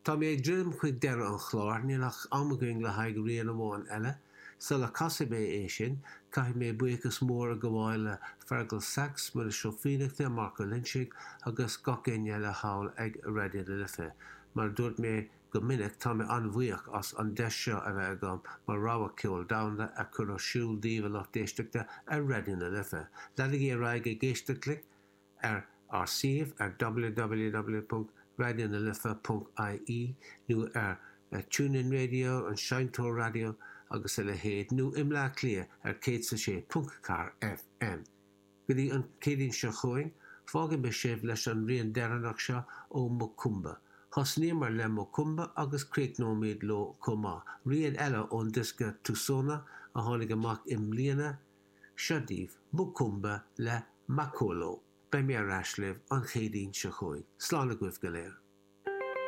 Tá mé ag druidim chuig deireadh an chláir, níl ach am againn le haghaidh rian amháin eile. Sula casfaidh mé é sin, caithfidh mé buíochas mór a ghabháil le Fergal Sachs, Muiris Ó Fiannachta, Marc Ó Loinsigh agus gach éinne eile thall ag Raidió na Life. Mar a dúirt mé go minic, tá mé an-bhuíoch as an deis seo a bheith agam mo rogha ceol domhanda a chur ar siúl daoibh a lucht éisteachta ar Raidió na Life. Leanaigí ar aghaidh ag éisteacht linn ar ár suíomh ar www.raidionalife.ie nó ar TuneIn Radio, an seinnteoir raidió agus a leithéid, nó i mBleá Cliath ar 106.4 FM. Go dtí an Céadaoin seo chugainn, fágfaidh mé sibh leis an rian deireanach seo ó Mokoomba. Thosnaíomar le Mokoomba agus críochnóimid leo chomh maith, rian eile ón diosca Tusona a tháinig amach i mbliana, Seo daoibh Mokoomba le Makolo. Beidh mé ar ais libh an Chéadaoin seo chugainn. Slán agaibh go léir.